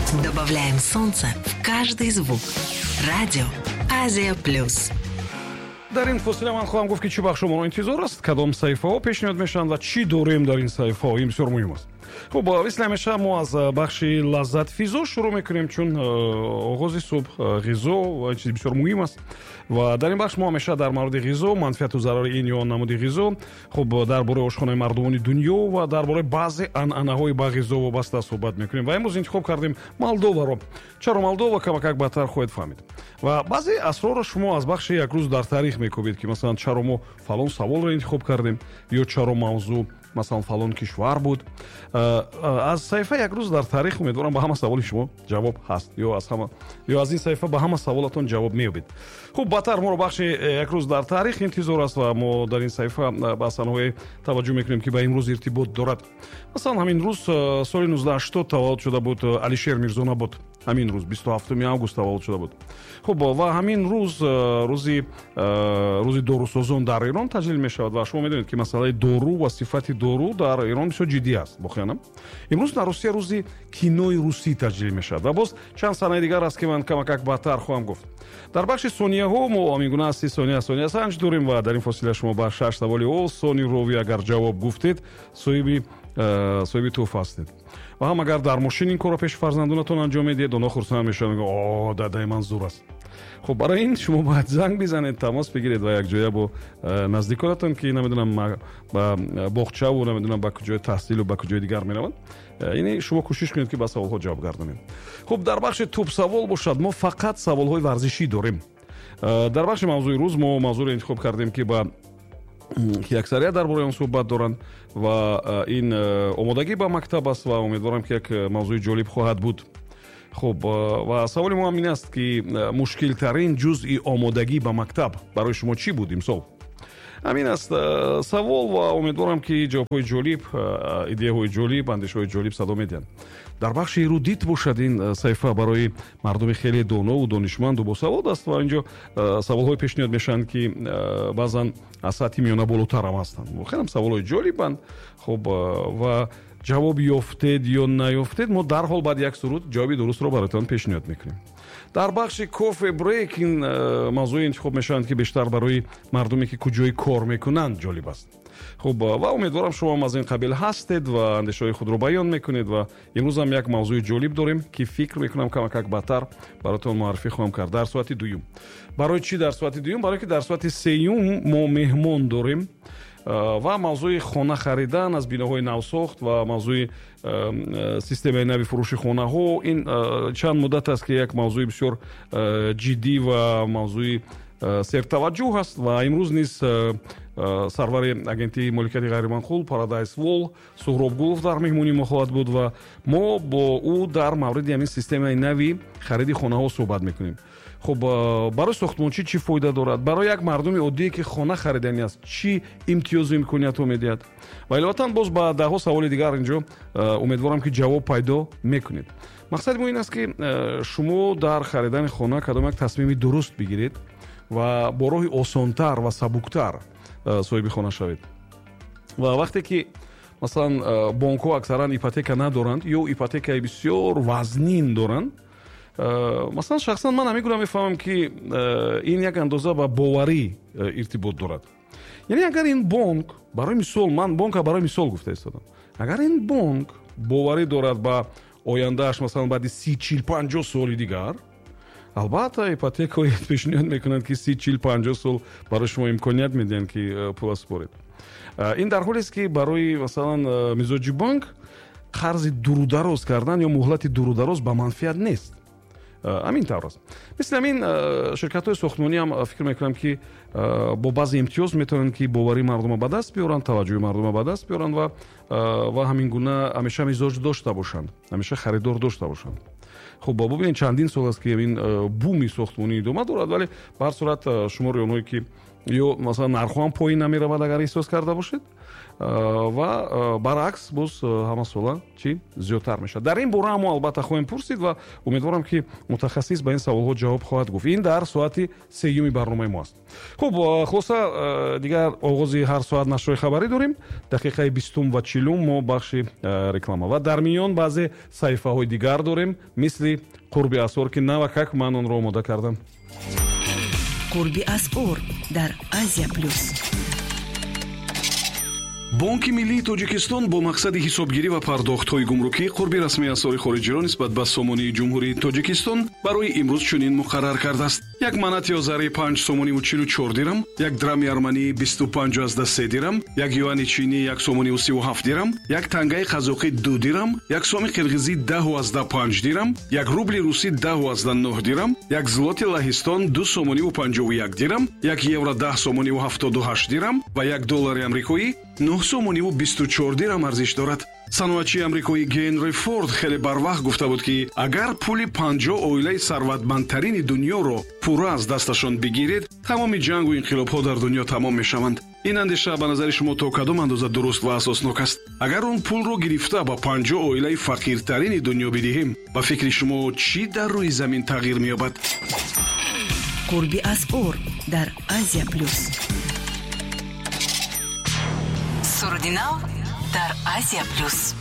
Добавляем солнце в каждый звук. Радио Азия Плюс. Дар ин фосила ман хоҳам гуфт, ки чӣ бахшо моро интизор аст, кадом саҳифаҳо пешниҳод мешаванд ва чӣ дорем дар ин саҳифаҳо. Ин бисёр муҳим аст. Хуб, мисли ҳамеша мо аз бахши лаззатфизо шурӯъ мекунем, чун оғози субҳ ғизо ва чизи бисёр муҳим аст. Ва дар ин бахш мо ҳамеша дар мавриди ғизо, манфиату зарари ин ё он намуди ғизо, хуб, дар бораи ошхонаи мардумони дунё ва дар бораи баъзе анъанаҳои ба ғизо вобаста суҳбат мекунем. Ва имрӯз интихоб кардем Молдоваро. Чаро Молдова, камакак баъдтар хоҳед фаҳмид. Ва баъзе асрорро шумо аз бахши «Як рӯз дар таърих» мекобед, ки масалан, чаро мо фалон саволро интихоб кардем ё чаро мавзӯъ, масалан, фалон кишвар буд. Аз саҳифа «Як рӯз дар таърих» умедворам, ба ҳама саволи шумо ҷавоб ҳаст ё аз ҳама, ё аз ин саҳифа ба ҳама саволатон ҷавоб меёбед. Хуб, баъдтар моро бахши «Як рӯз дар таърих» интизор аст ва мо дар ин саҳифа ба санаҳое таваҷҷӯҳ мекунем, ки ба имрӯз иртибот дорад. Масалан, ҳамин рӯз соли 1980 таваллуд шуда буд Алишер Мирзонабот. Ҳамин рӯз, 27 август, таваллуд шуда буд. Хуб, ва ҳамин рӯз рӯзи дорусозон дар Эрон таҷлил мешавад. Ва шумо медонед, ки масъалаи дору ва сифати дору дар Эрон бисёр ҷиддӣ аст воқеан. Имрӯз дар Русия рӯзи кинои русӣ таҷлил мешавад ва боз чанд санаи дигар аст, ки ман камакак баъдтар хоҳам гуфт. Дар бахши сонияҳо мо ҳамин гуна 30 сония сониясанҷ дорем ва дар ин фосила шумо ба шаш саволи осони рови агар ҷавоб гуфтед, соҳиби тӯҳфа ҳастед. Ва ҳам агар дар мошин ин корро пеши фарзандонатон анҷом медиҳед, онҳо хурсанд мешаванд, мегӯянд: «О, дадаи ман зур аст». Хуб, барои ин шумо бояд занг бизанед, тамос бигиред ва якҷоя бо наздиконатон, ки намедонам, ба боғчаву намедонам, ба куҷои таҳсилу ба куҷои дигар мераванд, яъне шумо кӯшиш кунед, ки ба саволҳо ҷавоб гардонед. Хуб, дар бахши тӯбсавол бошад, мо фақат саволҳои варзишӣ дорем. Дар бахши мавзӯи рӯз мо мавзӯъро интихоб кардем, ки аксарият дар бораи он суҳбат доранд, ва ин омодагӣ ба мактаб аст. Ва умедворам, ки як мавзӯи ҷолиб хоҳад буд. Хуб, ва саволи мо ҳам ин аст, ки мушкилтарин ҷузъи омодагӣ ба мактаб барои шумо чӣ буд имсол? Ҳамин аст савол ва умедворам, ки ҷавобҳои ҷолиб, идеяҳои ҷолиб, андешаҳои ҷолиб садо медиҳанд. Дар бахши эрудит бошад, ин саҳифа барои мардуми хеле донову донишманду босавод аст ва инҷо саволҳое пешниҳод мешаванд, ки баъзан аз сатҳи миёна болотарам ҳастанд. Хелам саволҳои ҷолибанд. Хуб, ва ҷавоб ёфтед ё наёфтед, мо дарҳол баъди як суруд ҷавоби дурустро бароятон пешниҳод мекунем. Дар бахши кофе брейк ин мавзӯе интихоб мешаванд, ки бештар барои мардуме, ки куҷои кор мекунанд, ҷолиб аст. Хуб, ва умедворам, шумо ҳам аз ин қабил ҳастед ва андешаҳои худро баён мекунед. Ва имрӯзам як мавзӯи ҷолиб дорем, ки фикр мекунам, камакак баъдтар бароятон муаррифӣ хоҳам кард дар соати дуюм. Барои чӣ дар соати дуюм? Барое ки дар соати сеюм мо меҳмон дорем ва мавзӯи хона харидан аз биноҳои навсохт ва мавзӯи системаи нави фурӯши хонаҳо. Ин чанд муддат аст, ки як мавзӯи бисёр ҷиддӣ ва мавзӯи сертаваҷҷӯҳ аст. Ва имрӯз низ сарвари агентии моликияти ғайриманқул Парадайз Вол Суҳроб Гулов дар меҳмонии мо хоҳад буд ва мо бо ӯ дар мавриди ҳамин системаи нави хариди хонаҳо суҳбат мекунем. Хуб, барои сохтмончӣ чӣ фоида дорад, барои як мардуми оддие, ки хона хариданӣ аст, чӣ имтиёзу имкониятҳо медиҳад ва иловатан боз ба даҳҳо саволи дигар инҷо умедворам, ки ҷавоб пайдо мекунед. Мақсади мо ин аст, ки шумо дар харидани хона кадом як тасмими дуруст бигиред ва бо роҳи осонтар ва сабуктар соҳиби хона шавед. Ва вақте ки, масалан, бонкҳо аксаран ипотека надоранд ё ипотекаи бисёр вазнин доранд, масалан, шахсан ман ҳамин гуна мефаҳмам, ки ин як андоза ба боварӣ иртибот дорад. Яъне агар ин бонк, барои мисол, ман бонка барои мисол гуфта истодам, агар ин бонк боварӣ дорад ба ояндааш, масалан, баъди 30, 40, 50 соли дигар, албатта, ипотекаҳое пешниҳод мекунанд, ки 30, 40, 50 сол барои шумо имконият медиҳанд, ки пула супоред. Ин дар ҳолест, ки барои, масалан, мизоҷи бонк қарзи дурудароз кардан ё муҳлати дурудароз ба манфиат нест. Ҳамин тавр аст. Мисли ҳамин ширкатҳои сохтмонӣ ҳам, фикр мекунам, ки бо баъзе имтиёз метавонанд, ки боварии мардума ба даст биёранд, таваҷҷӯҳи мардума ба даст биёранд ва ҳамин гуна ҳамеша мизоҷ дошта бошанд, ҳамеша харидор дошта бошанд. Хуб, бубинед, чандин сол аст, ки ин буми сохтмонӣ идома дорад, вале ба ҳар сурат шумори онҳое, ки ё, масалан, нархҳо ҳам поин намеравад, агар эҳсос карда бошед. Ва баръакс, боз ҳамасола чӣ зиёдтар мешавад. Дар ин бора мо албатта хоҳем пурсид ва умедворам, ки мутахассис ба ин саволҳо ҷавоб хоҳад гуфт. Ин дар соати сеюми барномаи мо аст. Хуб, хулоса, дигар оғози ҳар соат нашрҳои хабарӣ дорем. Дақиқаи бистум ва чилум мо бахши реклама ва дар миён баъзе саҳифаҳои дигар дорем, мисли қурби асъор, ки навакак ман онро омода кардам. Қурби асъор дар Азия Плюс. Бонки миллии Тоҷикистон бо мақсади ҳисобгирӣ ва пардохтҳои гумрукӣ қурби расмии асъори хориҷиро нисбат ба сомонии Ҷумҳурии Тоҷикистон барои имрӯз чунин муқаррар кардааст: як манати озарӣ 5 сомониву 44 дирам, як драми арманӣ 25,3 дирам, як юани чинӣ 1 сомониву 37 дирам, як тангаи қазоқӣ 2 дирам, як соми қирғизӣ 10,5 дирам, як рубли русӣ 10,9 дирам, як злоти Лаҳистон 2 сомониву 51 дирам, як евро 10 сомониву 78 дирам ва як доллари амрикоӣ 9 сомониву 24 дирам арзиш дорад. Саноатчии амрикоӣ Генри Форд хеле барвақт гуфта буд, ки агар пули 50 оилаи сарватмандтарини дунёро пурра аз дасташон бигиред, тамоми ҷангу инқилобҳо дар дунё тамом мешаванд. Ин андеша ба назари шумо то кадом андоза дуруст ва асоснок аст? Агар он пулро гирифта ба 50 оилаи фақиртарини дунё бидиҳем, ба фикри шумо, чӣ дар рӯи замин тағйир меёбад? Қурби асъор дар Азия Плюс. Суруди нав дар Азия Плюс.